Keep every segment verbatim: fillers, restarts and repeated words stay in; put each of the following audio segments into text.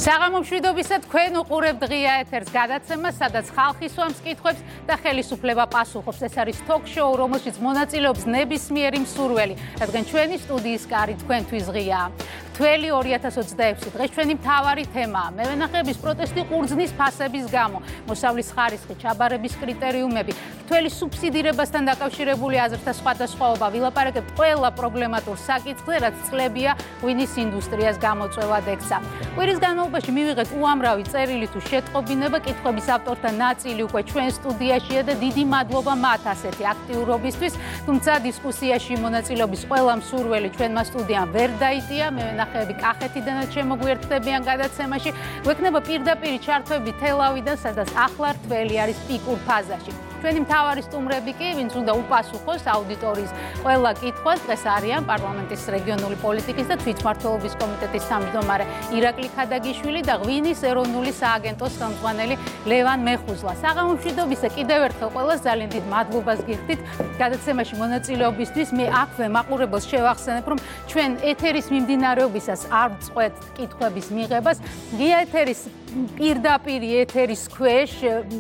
საღამომშვიდობისა თქვენ უყურებთ ღია ეთერს გადაცემას, სადაც ხალხი სვამს კითხვებს და ხელისუფლება პასუხობს. ეს არის ток-შოუ, რომელშიც მონაწილეობს ნებისმიერი მსურველი, რადგან ჩვენი სტუდიის კარი თქვენთვის ღიაა. თველი ორი ათას ოცდაექვსი დღეს ჩვენი მთავარი თემაა. მევენახეების პროტესტი ყურძნის ფასების გამო, მოსავლის ხარისხი, ჩაბარების კრიტერიუმები, თველი სუბსიდირებასთან დაკავშირებული აზრთა სხვადასხვაობა. ვილაპარაკებთ ყველა პრობლემატურ საკითხზე, რაც წლებია ღვინის ინდუსტრიას გამოწვევად ექცა. კვირის განმავლობაში მივიღეთ უამრავი წერილი თუ შეტყობინება, კითხვების ავტორთა ნაწილი უკვე ჩვენ სტუდიაშია და დიდი მადლობა მათ ასეთი აქტიურობისთვის, თუმცა დისკუსიაში მონაწილეობის ყველა მსურველი ჩვენმა სტუდიამ ვერ დაიტია. მევენახეები კახეთიდანაც შემოგვიერთდებიან გადაცემაში. გვექნება პირდაპირი ჩართვები თელავიდან, სადაც ახლა რთველი არის პიკურ ფაზაში. ჩვენი მთავარი სტუმრები კი, ვინც უნდა უპასუხოს აუდიტორიის ყველა კითხვას, დღეს არიან პარლამენტის რეგიონული პოლიტიკის და თვითმმართველობის კომიტეტის თავმჯდომარე ირაკლი ქადაგიშვილი და ღვინის ეროვნული სააგენტოს ხელმძღვანელი ლევან მეხუზლა. საღამომშვიდობისა კიდევ ერთხელ ყველას ძალიან დიდ მადლობას გიხდით გადაცემაში მონაწილეობისთვის. მე აქვე მაყურებელს შევახსენებ, რომ ჩვენ ეთერის მიმდინარეობისას არ წყვეტ კითხვების მიღებას. ღია ეთერის პირდაპირ ეთერის ქვეშ,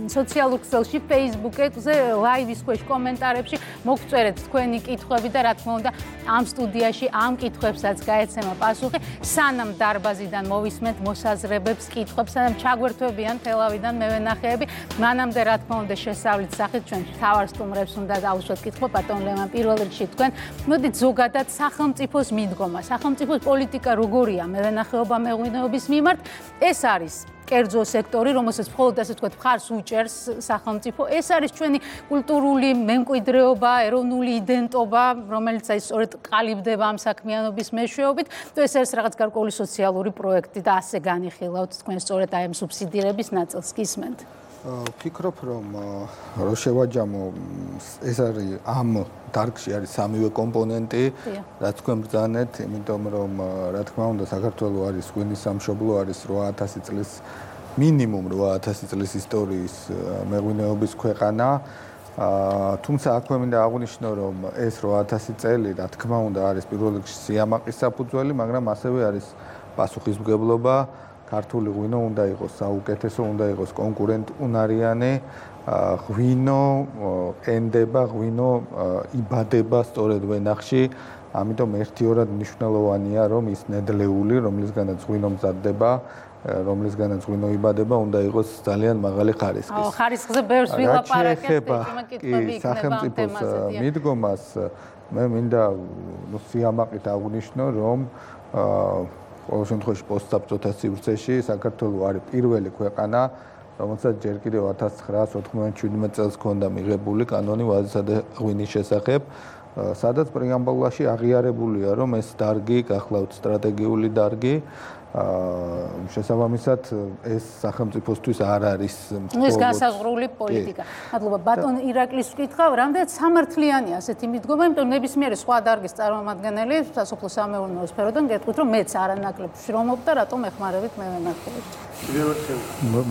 სოციალურ ქსელში, Facebook-ზე, ლაივის ქვეშ კომენტარებში მოგწერეთ თქვენი კითხვები და რა თქმა უნდა ამ სტუდიაში ამ კითხვებსაც გაეცემა პასუხი. სანამ დარბაზიდან მოვისმენთ მოსაზრებებს, კითხვებს, სანამ ჩაგვერთვებიან თელავიდან მევენახეები, მანამდე რა თქმა უნდა შესავლის სახით ჩვენ მთავარ სტუმრებს უნდა დავუშვათ კითხვა. ბატონ ლევან, პირველ რიგში თქვენ მოდით ზოგადად სახელმწიფოს მიდგომა, სახელმწიფოს პოლიტიკა როგორია მევენახეობა მეღვინეობის მიმართ. ეს არის კერძო სექტორი, რომელსაც მხოლოდ ასე ვთქვათ, მხარს უჭერს სახელმწიფო. ეს არის ჩვენი კულტურული მემკვიდრეობა, ეროვნული იდენტობა, რომელიც აი სწორედ ყალიბდება ამ საქმიანობის მეშვეობით. თუ ეს არის რაღაც გარკვეული სოციალური პროექტი და ასე განიხილავთ თქვენ სწორედ აი ამ სუბსიდირების ნაწილს გისმენთ. ვფიქრობ, რომ რო შევაჯამო, ეს არის ამ დარგში არის სამივე კომპონენტი, რაც თქვენ ბრძანეთ, იმიტომ რომ რა თქმა უნდა საქართველოს არის ღვინის სამშობლო, არის რვა ათასი წლის მინიმუმ რვა ათასი წლის ისტორიის მეღვინეობის ქვეყანა. თუმცა აქვე მინდა აღვნიშნო, რომ ეს რვა ათასი წელი რა თქმა უნდა არის პირველ რიგში სიამაყის საფუძველი, მაგრამ ასევე არის პასუხისმგებლობა. ქართული ღვინო უნდა იყოს საუკეთესო, უნდა იყოს კონკურენტუნარიანი, ღვინო ენდება, ღვინო იბადება სწორედ ვენახში, ამიტომ ერთიორად მნიშვნელოვანია, რომ ის ნედლეული, რომლისგანაც ღვინო მზადდება, რომლისგანაც ღვინო იბადება, უნდა იყოს ძალიან მაღალი ხარისხის. აუ, ხარისხზე ბევრს ვილაპარაკებთ, ეხება სახელმწიფოს მიდგომას, მე მინდა სიამაყით აღვნიშნო, რომ ყოველ შემთხვევაში პოსტსაბჭოთა სივრცეში საქართველოს არის პირველი ქვეყანა, რომელსაც ჯერ კიდევ ათას ცხრაასი ოთხმოცდაშვიდმეტ წელს ჰქონდა მიღებული კანონი ვაზისა და ღვინის შესახებ, სადაც პრეამბულაში აღიარებულია, რომ ეს დარგი გახლავთ სტრატეგიული დარგი. შესაბამისად ეს სახელმწიფოსთვის არ არის ეს განსაზღვრული პოლიტიკა. მადლობა. ბატონ ირაკლის ვკითხავ, რამდენად სამართლიანია ასეთი მიდგომა, იმიტომ რომ ნებისმიერი სხვა დარგის წარმომადგენელი სასოფლო-სამეურნეო სფეროდან გეტყვით, რომ მეც არანაკლებ შრომობ და რატომ ეხმარებით მევენახეებს.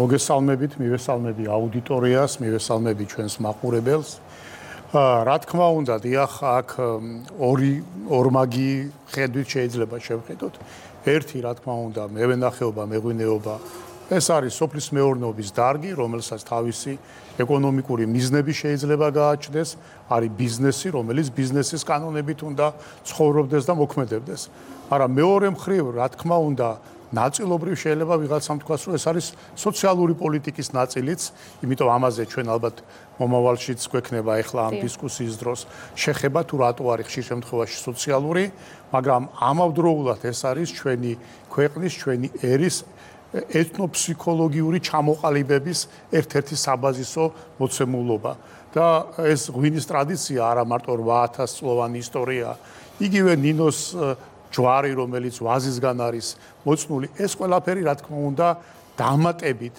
მოგესალმებით, მივესალმები აუდიტორიას, მივესალმები ჩვენს მაყურებელს. რა თქმა უნდა, დიახ, აქ ორი ორმაგი ხედვით შეიძლება შევხედოთ. ერთი, რა თქმა უნდა, მევენახეობა, მეღვინეობა, ეს არის სოფლის მეურნეობის დარგი, რომელსაც თავისი ეკონომიკური მიზნები შეიძლება გააჩნდეს, არის ბიზნესი, რომელიც ბიზნესის კანონებით უნდა ცხოვრობდეს და მოქმედებდეს. მაგრამ მეორე მხრივ, რა თქმა უნდა, ნაწილობრივ შეიძლება ვიღაცამ თქვას, რომ ეს არის სოციალური პოლიტიკის ნაწილიც, იმიტომ ამაზე ჩვენ ალბათ მომავალშიც გვექნება ახლა ამ დისკუსიის დროს შეხება, თუ რატო არის ხშირ შემთხვევაში სოციალური, მაგრამ ამავდროულად ეს არის ჩვენი ქვეყნის, ჩვენი ერის ეთნოფსიქოლოგიური ჩამოყალიბების ერთ-ერთი საბაზისო მოცემულობა. და ეს ღვინის ტრადიცია არა მარტო რვა ათას წლოვანი ისტორია, იგივე ნინოს ჯვარი, რომელიც ვაზისგან არის მოწნული, ეს ყველაფერი რა თქმა უნდა დამატებით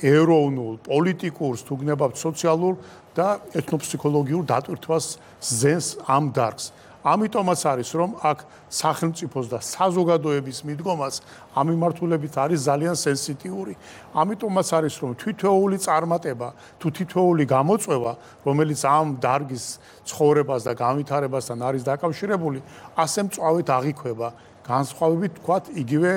ეროვნულ, პოლიტიკურს, თუ გნებავთ სოციალურ და ეთნოფსიქოლოგიურ დატვირთვას ზენს ამ დარგს. ამიტომაც არის, რომ აქ სახელმწიფოს და საზოგადოების მიდგომას ამ მიმართულებით არის ძალიან სენსიტიური. ამიტომაც არის, რომ თითოეული წარმატება თუ თითოეული გამოწვევა, რომელიც ამ დარგის ცხოვრებას და განვითარებასთან არის დაკავშირებული, ასე მწვავედ აღიქვება. განსხვავებით, თქვათ, იგივე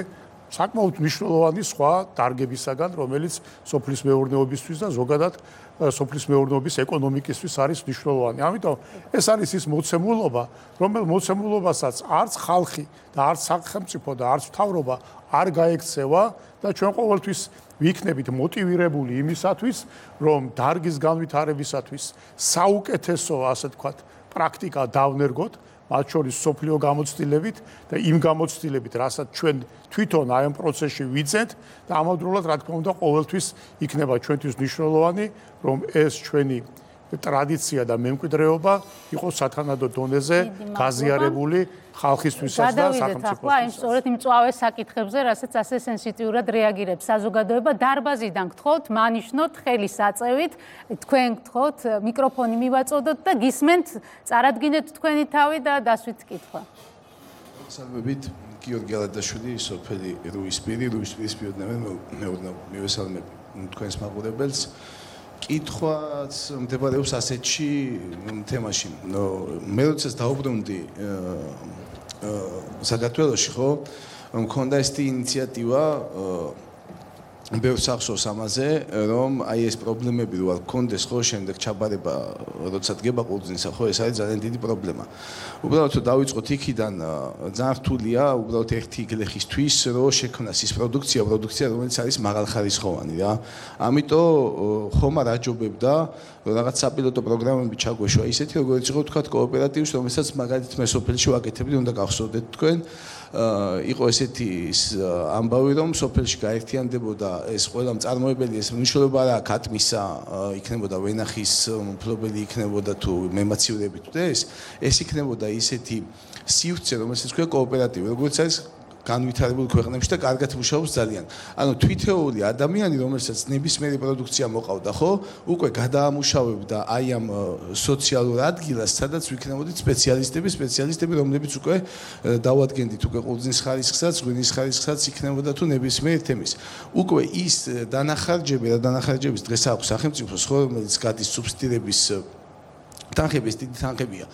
საკმაოდ მნიშვნელოვანი სხვა დარგებისაგან, რომელიც სოფლის მეურნეობისთვის და ზოგადად სოფლის მეურნეობის ეკონომიკისთვის არის მნიშვნელოვანი. ამიტომ ეს არის ის მოცემულობა, რომელ მოცემულობასაც არც ხალხი და არც სახელმწიფო და არც მთავრობა არ გაექცევა და ჩვენ ყოველთვის ვიქნებით მოტივირებული იმისათვის, რომ დარგის განვითარებისათვის საუკეთესო, ასე ვთქვათ, პრაქტიკა დავნერგოთ, მათ შორის სოფლიო გამოცდილებით და იმ გამოცდილებით, რასაც ჩვენ თვითონ აი ამ პროცესში ვიძენთ და ამავდროულად, რა თქმა უნდა, ყოველთვის იქნება ჩვენთვის მნიშვნელოვანი, რომ ეს ჩვენი ტრადიცია და მემკვიდრეობა იყოს სათანადო დონეზე გაზიარებული ხალხისთვისაც და სახელმწიფოსთვის. ახლა იმ სწორედ იმ მწვავე საკითხებზე, რასაც ასე სენსიტიურად რეაგირებს საზოგადოება, დარბაზიდან გთხოვთ, მანიშნოთ ხელის აწევით, თქვენ გთხოვთ, მიკროფონი მივაწოდოთ და გისმენთ, წარადგინეთ თქვენი თავი და დასვით კითხვა. სალმებით გიორგი ალადაშვილი, სოფელი რუისპირი, რუისპირის პიროვნებად მივესალმებ თქვენს მაყურებელს. კითხვაც მდებარეობს ასეთში თემაში. მე როდესაც დაუბრუნდი საქართველოში, ხო, მქონდა ეს ინიციატივა ბევრ სახსოვს ამაზე, რომ აი ეს პრობლემები რო არ გქონდეს, ხო, შემდეგ ჩაბარება, როცა დგება ყურძნისა, ხო, ეს არის ძალიან დიდი პრობლემა. უბრალოდ დავიწყოთ იქიდან, ძალიან რთულია, უბრალოდ ერთი გლეხისთვის, რომ შექმნას ის პროდუქცია, პროდუქცია, რომელიც არის მაღალხარისხოვანი რა. ამიტომ ხომ არ აჯობებდა, რომ რაღაც საპილოტო პროგრამები ჩაგვეშვა, ისეთი როგორც იყო თქვა კოოპერატივს, რომელსაც მაგალითად მე სოფელში ვაკეთებდი, უნდა გახსოვდეთ თქვენ. იყო ესეთი ამბავი, რომ სოფელში გაერთიანდებოდა ეს ყველა მწარმოებელი, ეს მნიშვნელობა არა ქათმისა, იქნებოდა ვენახის მფლობელი, იქნებოდა თუ მემაციურები თუ ეს, ეს იქნებოდა ისეთი სივრცე, რომელსაც ქვია კოოპერატივი, როგორც არის განვითარებულ ქვეყნებში და კარგად მუშაობს ძალიან. ანუ თვითეული ადამიანი, რომელსაც ნებისმიერი პროდუქცია მოყავდა, ხო, უკვე გადაამუშავებდა აი ამ სოციალურ ადგილას, სადაც ვიქნებოდით სპეციალისტები, სპეციალისტები, რომლებიც უკვე დავადგენდით უკვე ყურძნის ხარისხსაც, ღვინის ხარისხსაც იქნებოდა თუ ნებისმიერ თემის. უკვე ის დანახარჯები და დანახარჯების დღეს აქვს სახელმწიფოს, ხო, რომელიც გადის სუბსიდირების თანხები, ეს დიდი თანხებია.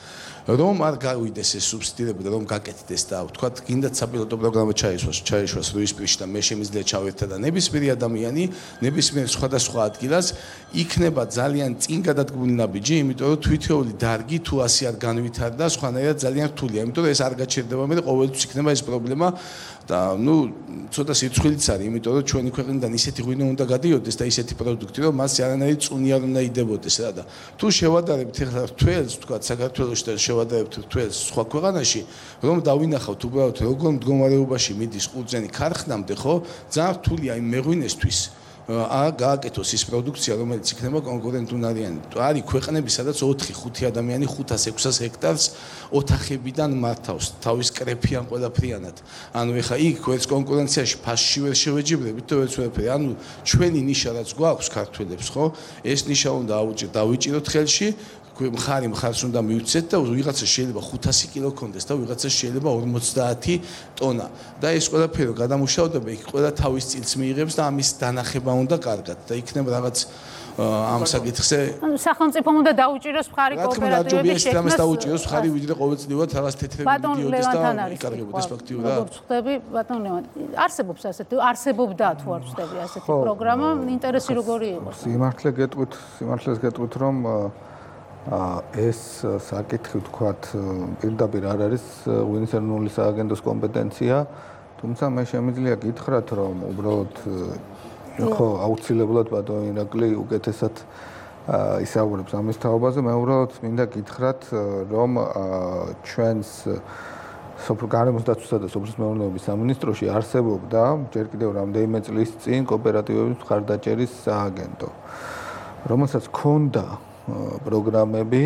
რომ არ გავიდეს ეს სუბსიდირება და რომ გაკეთდეს და ვთქვათ, გინდათ საპილოტო პროგრამა ჩაისვას, ჩაიშვას რუისპირში და მე შემიძლია ჩავერთდა და ნებისმიერი ადამიანი, ნებისმიერ სხვადასხვა ადგილას იქნება ძალიან წინ გადადგმული ნაბიჯი, იმიტომ რომ თვითეული დარგი თუ ასე არ განვითარდა, სხვანაირად ძალიან რთულია, იმიტომ რომ ეს არ გაჩერდება მე და ყოველთვის იქნება ეს პრობლემა და ნუ ცოტა სიცხვილიც არის, იმიტომ რომ ჩვენი ქვეყნიდან ისეთი ღვინო უნდა გადიოდეს და ისეთი პროდუქტი, რომ მას არანაირი წუნი არ უნდა იდებოდეს რა და თუ შევადარებთ ახლა თველს, ვთქვათ, საქართველოში და შევადარებთ თველს სხვა ქვეყანაში, რომ დავინახავთ უბრალოდ როგორ მდგომარეობაში მიდის ყურძენი ქარხნამდე, ხო, ძალიან რთულია იმ მეღვინესთვის აა გააკეთოს ის პროდუქცია, რომელიც იქნება კონკურენტუნარიანი. არის ქვეყნები, სადაც ოთხი ხუთი ადამიანი ხუთას ექვსას ჰექტარს ოთახებიდან მართავს, თავის კრეფიან ყველაფრიანად. ანუ ეხა იქ ვერც კონკურენციაში ფასში ვერ შევეჯიბრებით და ვერც ვერაფერი. ანუ ჩვენი ნიშა რაც გვაქვს ქართველებს, ხო? ეს ნიშა უნდა აუჭირ დავიჭიროთ ხელში. მხარი მხარს უნდა მივცეთ და ვიღაცა შეიძლება ხუთასი კილო კონდეს და ვიღაცა შეიძლება ორმოცდაათი ტონა და ეს ყველაფერი გადამუშავდება იქ ყველა თავის წილს მიიღებს და ამის დანახება უნდა კარგად და იქნება რაღაც ამ საკითხზე სახელმწიფომ უნდა დაუჭიროს მხარი კოოპერატივების შექმნას ამას დაუჭიროს მხარი ვიდრე ყოველწლიურად რაღაც თეთრები მიდიოდეს და იკარგებოდეს ფაქტიურად როგორც ხდები ბატონ ლევან არსებობს ასეთი არსებობდა თუ არ ვწდები ასეთი პროგრამა ინტერესი როგორი იყო სიმართლე გეტყვით სიმართლეს გეტყვით რომ ეს საკითხი ვთქვათ პირდაპირ არ არის ღვინის ეროვნული სააგენტოს კომპეტენცია, თუმცა მე შემიძლია გითხრათ, რომ უბრალოდ ხო აუცილებლად ბატონ ირაკლი უკეთესად ისაუბრებს ამის თაობაზე, მე უბრალოდ მინდა გითხრათ, რომ ჩვენს გარემოს დაცვისა და სოფლის მეურნეობის სამინისტროში არსებობდა ჯერ კიდევ რამდენიმე წლის წინ კოოპერატივების მხარდაჭერის სააგენტო, რომელსაც ჰქონდა პროგრამები,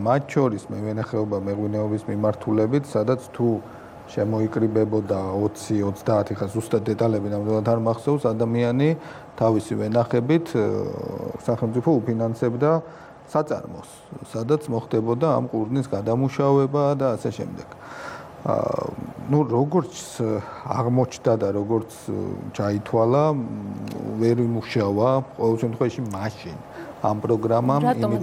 მათ შორის მევენახეობა მეღვინეობის მიმართულებით, სადაც თუ შემოიკრიბებოდა ოცი ოცდაათი ხა ზუსტად დეტალები ნამდვილად არ მახსოვს, ადამიანი თავისი ვენახებით სახელმწიფო უფინანსებდა საწარმოს, სადაც მოხდებოდა ამ ყურძნის გადამუშავება და ასე შემდეგ. ну როგორც აღმოჩნდა და როგორც ჩაითვალა, ვერ იმუშავა ყოველ შემთხვევაში მაშინ ამ პროგრამამ, იმიტომ